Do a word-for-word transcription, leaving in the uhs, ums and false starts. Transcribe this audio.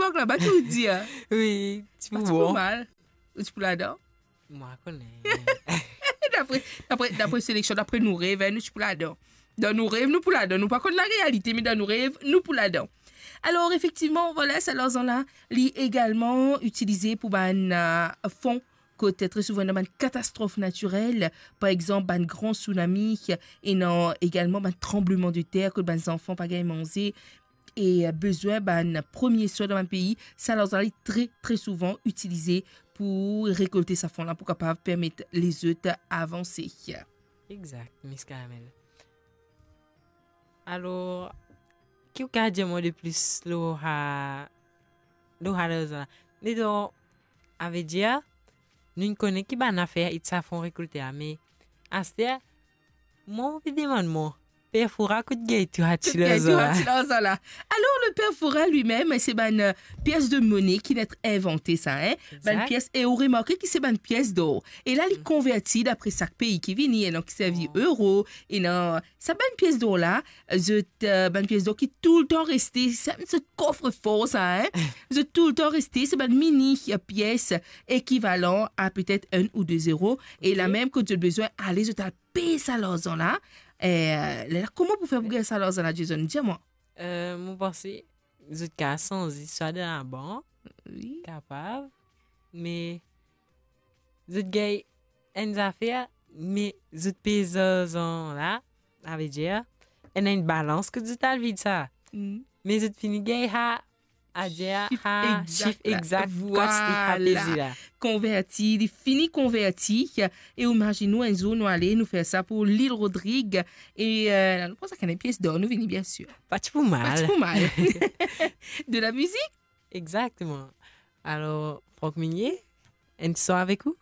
Park laba, ki ou dir? Wi, ti pou bon. Ti pou mal. Ou ti pou ladan? Mwa kone. Dapre, dapre, dapre seleksion, dapre nou rev, hein, nou ti pou ladan. Dan nou rev, nou pou ladan. Nou pa konn larealite, me dan nou rev, nou pou ladan. Alor, efektivman, vwala, sa larzan la, li egalman itilize pou bann, euh, fon kot tre souvan dan bann katastrof natirel, par exanp, bann gran sounami, ena egalman bann tranbleman de ter, kot bann zanfan pa gagn manze, e, euh, bezwin bann premie swin dan bann pei, sa larzan li tre, tre souvan itilize pou rekolte sa fon la, pou kapav permet lezot avanse. Exact, Miss Caramel. Alor, ki ou kapav dir mwa de plis lor sa, lor sa larzan la? Me donk, savedir, nou kone ki bann zafer it sa fon rekolte la, me aster, mwa, mo pe demann mwa, Per Fora kot gagn tou sa ti larzan la? Alor, le Per Fora limem, se bann, euh, pies de mone ki inn invante sa, hein? Bann pies, e ou remarke ki se bann pies dor. E la, li konverti dapre sak pei ki vini, ena ki servi euro, ena sa bann pies dor la, zot, euh, bann pies dor ki toultan reste, sa, zot kofrefor sa, hein? Zot toultan reste, se bann mini, euh, pies ekivalan a petet enn ou de euro. E la mem, kot zot bezwin ale, zot al pey sa larzan la. Eh, lerla, kouma pou fer pou gagn sa larzan la, Jason? Dir mwa. Euh, mo panse, zot kapav sanze swa dan labank, wi, kapav, me zot gagn enn zafer, me zot pey larzan la, savedir, ena enn balans kot zot al vid sa. Mm. Me zot fini gagn sa, savedir, sif, sa, egzak sif la. Egzak, vwala. Kantite sa peze la. Konverti, li fini konverti. E ou imazinn ou, enn zour nou ale, nou fer sa pou Lil Rodrig. E, euh, nou pran sa ki ena pies dor, nou vini, bien sir. Pa ti pou mal. Pa ti pou mal. De la mizik? Exactement. Alors, Franck Minier, enn son avek ou?